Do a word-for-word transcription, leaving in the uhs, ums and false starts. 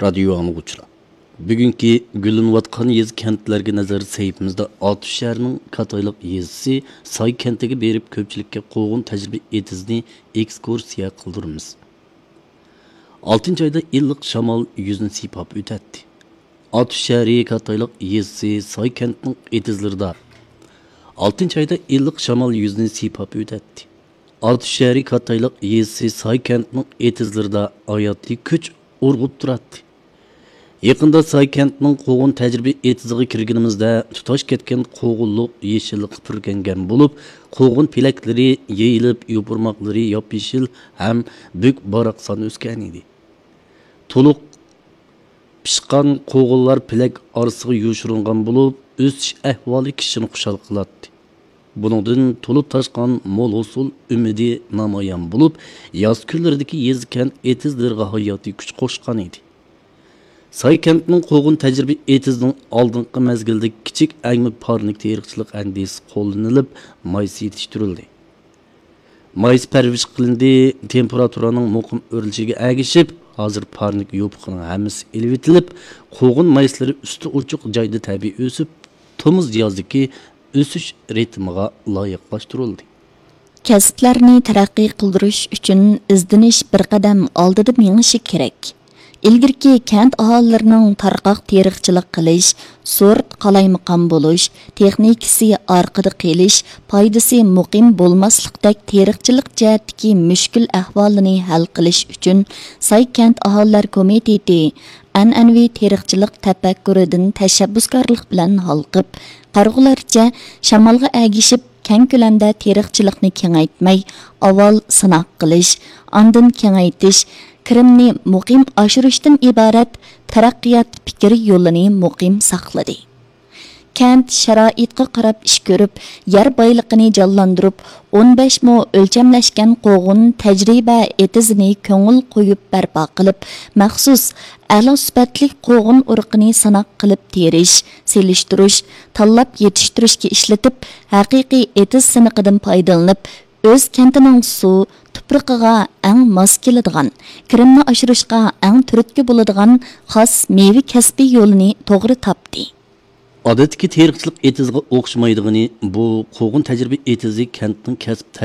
رادىيو ئاڭلىغۇچىلار، بۈگۈنكى گۈللىنىۋاتقان يېزا، كەنتلەرگە نەزەر سەھىپىمىزدە ئاتۇش شەھىرىنىڭ كاتايلىق يېزىسى ساي كەنتىگە بېرىپ، كۆپچىلىككە قوغۇن تەجرىبە ئېتىزىنى ئېكسكۇرسىيە قىلدۇرىمىز. ئالتىنچى ئايدا ئىللىق شامال يۈزنى سىيپاپ ئۆتەتتى. ئاتۇش شەھىرى كاتايلىق يېزىسى ساي كەنتنىڭ ئېتىزلىرىدا، ئالتىنچى ئايدا ئىللىق شامال يۈزنى سىيپاپ ئۆتەتتى. ئاتۇش شەھىرى كاتايلىق يېزىسى ساي كەنتنىڭ ئېتىزلىرىدا ھاياتىي كۈچ ئۇرغۇپ تۇراتتى. يېقىندا ساي كەنتنىڭ قوغۇن تەجرىبە ئېتىزىغا كىرگىنىمىزدە، تۇتاش كەتكەن قوغۇنلۇق يېشىللىققا پۈركەنگەن بولۇپ، قوغۇن پېلەكلىرى يېيىلىپ، يوپۇرماقلىرى ياپيېشىل ھەم بۈك باراقسان ئۆسكەن ئىدى. تولۇق پىشقان قوغۇنلار پېلەك ئارىسىغا يوشۇرۇنغان بولۇپ، ئۆسۈش ئەھۋالى كىشىنى خۇشال قىلاتتى. بۇنىڭدىن تولۇپ تاشقان مول ھوسۇل ئۈمىدى نامايان بولۇپ، ياز كۈنلىرىدىكى يېزا، كەنت ئېتىزلىرىغا ھاياتىي كۈچ قوشقان ئىدى. ساي كەنتنىڭ قوغۇن تەجرىبە ئېتىزىنىڭ ئالدىنقى مەزگىلدە كىچىك ئەگمە پارنىك تېرىقچىلىق ئەندىزىسى قوللىنىلىپ، مايسا يېتىشتۈرۈلدى. مايسا پەرۋىش قىلىندى، تېمپېراتۇرانىڭ مۇقىم ئۆرلىشىگە ئەگىشىپ، ھازىر پارنىك يوپۇقىنىڭ ھەممىسى ئېلىۋېتىلىپ، قوغۇن مايسىلىرى ئۈستى ئوچۇق جايدا تەبىئىي ئۆسۈپ، تومۇز يازدىكى ئۆسۈش رىتىمىغا لايىقلاشتۇرۇلدى. كەسىپلەرنى تەرەققىي قىلدۇرۇش ئۈچۈن ئىزدىنىش بىر قەدەم ئالدىدا مېڭىشى كېرەك. ئىلگىرىكى كەنت ئاھالىلىرىنىڭ تارقاق تېرىقچىلىق قىلىش، سورت قالايمىقان بولۇش، تېخنىكىسى ئارقىدا قېلىش، پايدىسى مۇقىم بولماسلىقتەك تېرىقچىلىق جەھەتتىكى مۈشكۈل ئەھۋالىنى ھەل قىلىش ئۈچۈن، ساي كەنت ئاھالىلەر كومىتېتى ئەنئەنىۋى تېرىقچىلىق تەپەككۇرىدىن تەشەببۇسكارلىق بىلەن ھالقىپ، قارىغۇلارچە شامالغا ئەگىشىپ، كەڭ كۆلەمدە تېرىقچىلىقنى كېڭەيتمەي، ئاۋۋال سىناق قىلىش، ئاندىن كېڭەيتىش، كىرىمنى مۇقىم ئاشۇرۇشتىن ئىبارەت تەرەققىيات پىكىر يولىنى مۇقىم ساقلىدى. كەنت شارائىتقا قاراپ ئىش كۆرۈپ، يەر بايلىقىنى جانلاندۇرۇپ، ئون بەش مو ئۆلچەملەشكەن قوغۇن تەجرىبە ئېتىزىنى كۆڭۈل قويۇپ بەرپا قىلىپ، مەخسۇس ئەلا سۈپەتلىك قوغۇن ئۇرۇقىنى سىناق قىلىپ تېرىش، سېلىشتۇرۇش، تاللاپ يېتىشتۈرۈشكە ئىشلىتىپ، ھەقىقىي ئېتىز سىنىقىدىن پايدىلىنىپ، ئۆز كەنتىنىڭ سۇ، تۇپرىقىغا ئەڭ ماس كېلىدىغان، كىرىمنى ئاشۇرۇشقا ئەڭ تۈرتكە بولىدىغان خاس مېۋە كەسپى يولىنى توغرا تاپتى. ئادەتتىكى تېرىقچىلىق ئېتىزىغا ئوخشىمايدىغىنى، بۇ قوغۇن تەجرىبە ئېتىزى كەنتنىڭ كەسىپ